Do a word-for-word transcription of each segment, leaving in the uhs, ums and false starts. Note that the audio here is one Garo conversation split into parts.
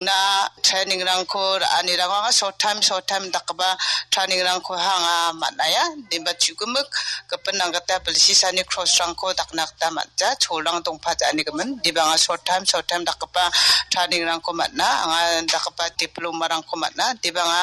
Na training-rangko ra·anirango anga short time, short time dakgipa training-rangko anga man·aia. Inba chu·gimik gipin nanggita bilsisani cross-rangko dakna gita man·ja, cholrang dongpaja·anigimin. Inba anga short time, short time dakgipa training-rangko man·a, anga dakgipa diploma-rangko man·a, inba anga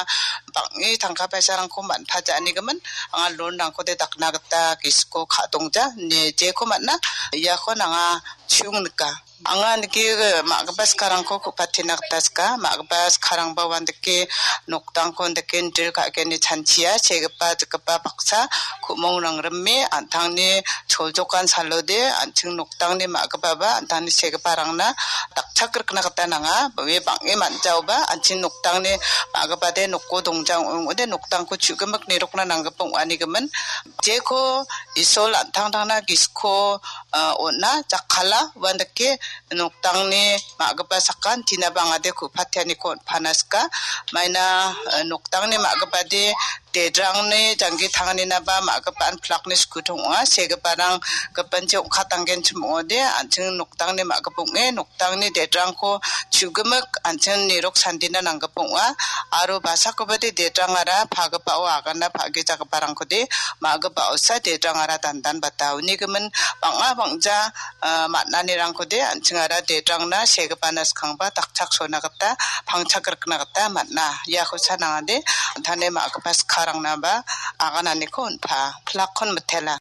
bang·e tangka paisarangko man·paja·anigimin, anga loan-rangkode dakna gita gisiko ka·dongja, ine jeko man·a, iako anga chu·ong nika. Anga nike, eh, ma·gipa sikarangko ku·patina gita sika. Ma·gipa sikarangba uandake noktangko andake nidil ka·gni chanchia, segipa, jikgipa baksa ku·mongrang rime, an·tangni choljokan salode, an·ching noktangni ma·gipaba, an·tangni segiparangna dakchak rikna gita nanga. Ue bang·e man·jaoba, an·ching noktangni ma·gipade noko dongja ong·ode, noktangko chu·gimik nirokna nanggipa ong·anigimin. Jeko Isol an·tangtangna gisiko ah, on·a, jakkala, uandake noktangni ma·gipa sakan, tinaba angade ku·patianiko on·pana sika. Maina, eh, noktangni ma·gipade dedrangni janggi tanganinaba ma·gipa an pilakni skutong ong·a. Segiparang gipinchi ong·katanggenchim ong·ode, an·ching noktangni ma·gipa ong·e, noktangni dedrangko chu·gimik an·ching nirok sandina nanggipa ong·a. Aro basakobade dedrangara pagipao agana pa·gijagiparangkode ma·gipa osa dedrangara dandanbata. Unigimin bang·a bang·ja, ah, man·anirangkode an·chingara dedrangna segipana skangba dakchak sona gita, pangchak rikna gita man·a. Iako sanangade an·tangni ma·gipa skararangnaba agananiko on·pa. Pilakkon mitela.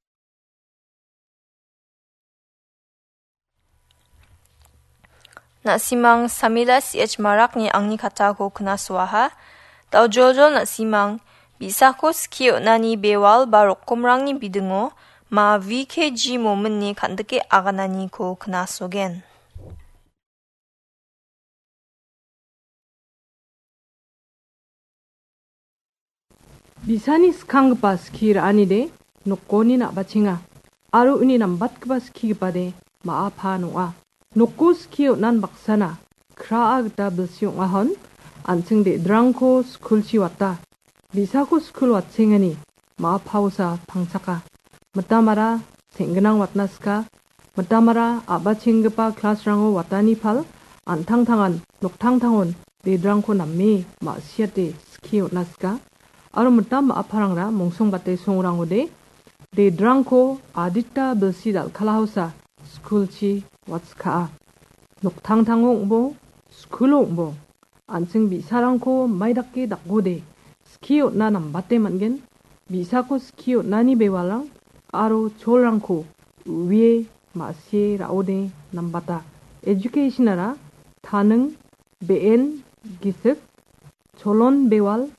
Na·simang Samila C H Marakni angni katako knasoaha. Daojoljol na·simang, bi·sako skie on·ani bewal ba rokomrangni bidingo ma V K G mominni kan·dike agananiko knasogen. Bi·sani skanggipa skie ra·anide nokoni na·bachenga, aro uni nambatgipa skigipade ma·a paan ong·a. Noko skie on·an baksana kraa gita bilsi ong·ahon, an·ching de·drangko skulchi wata. Bi·sako skul watchengani ma·a paosa pangchaka. Mitamara seng·ginang watna sika. Mitamara a·bachenggipa klasrango watani pal, an·tangtangan noktangtangon dedrangko name ma·siate skie on·a sika. Aro mitam ma·aparangra mongsongbate songrangode dedrangko adita bilsi dal·kalaosa skulchi watskaa. Noktangtango ong·bo, skulo ong·bo. An·ching bi·sarangko maidake dakode skie on·na nambate man·gen. Bi·sako skie on·ani bewalrang aro cholrangko u·ie ma·sie ra·ode nambata. Educationara taning, be·en, gisik, cholon bewal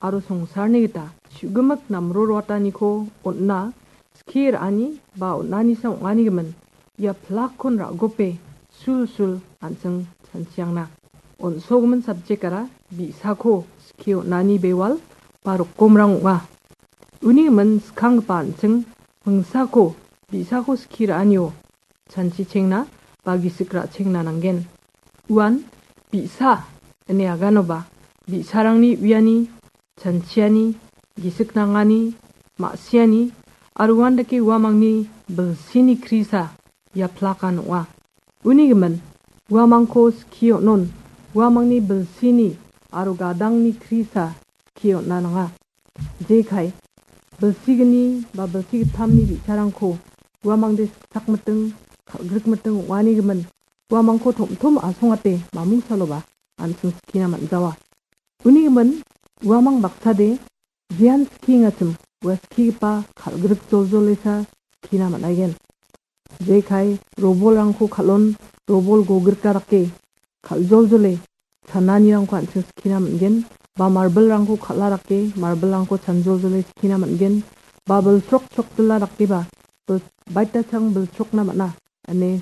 aro songsarni gita chu·gimik namroroataniko on·na skie ra·ani ba on·anisa ong·anigimin ia pilakkon ra·gope sulsul an·ching chanchiangna. On·sogimin subject-ara bi·sako skie on·ani bewal ba rokomrang ong·a. Unigimin skanggipa an·ching mingsako bi·sako skie ra·anio chanchichengna ba gisik ra·chengna nanggen. Uan bi·sa ine aganoba bi·sarangni uiani, chanchiani, gisik nangani, ma·siani, aro uandake uamangni bilsini krisa ia pilakan ong·a. Unigimin, uamangko skie on·on, uamangni bilsini aro gadangni krisa skie on·a nanga. Jekai, bilsigni ba bilsi gittamni bi·sarangko uamangde sikchakmiting, kal·grikmiting ong·anigimin, uamangko tom·tom asongate mamungsaloba an·ching skina man·jawa. Unigimin, uamang baksade jean skiengachim ua skigipa kal·grik joljolesa skina man·aigen. Jekai robolrangko kal·on, robol gogrika dake kal·joljole chananirangko an·ching skina man·gen, ba marbilrangko kal·a dake marbilrangko chanjoljole skina man·gen, ba bilchrok chrokdila dakeba bil-, baitachang bilchrokna man·a ine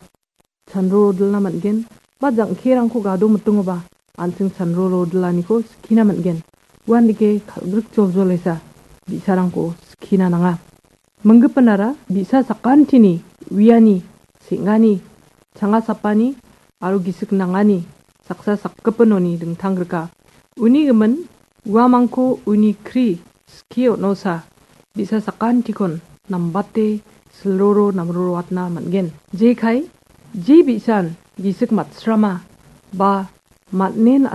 chanrorodilna man·gen, ba jang·kerangko gado mitingoba an·ching chanrorodilaniko skina man·gen. Uandake kal·grik joljolesa bi·sarangko skina nanga. Minggipinara bi·sa sakantini uiani, seng·ani, changa sapani aro gisik nangani saksa sakgipinoni dingtanggrika. Uni gimin uamangko uni kri skie on·osa bi·sa sakantikon nambate silroro namroroatna man·gen. Jekai, je bi·san gisik matsrama ba man·en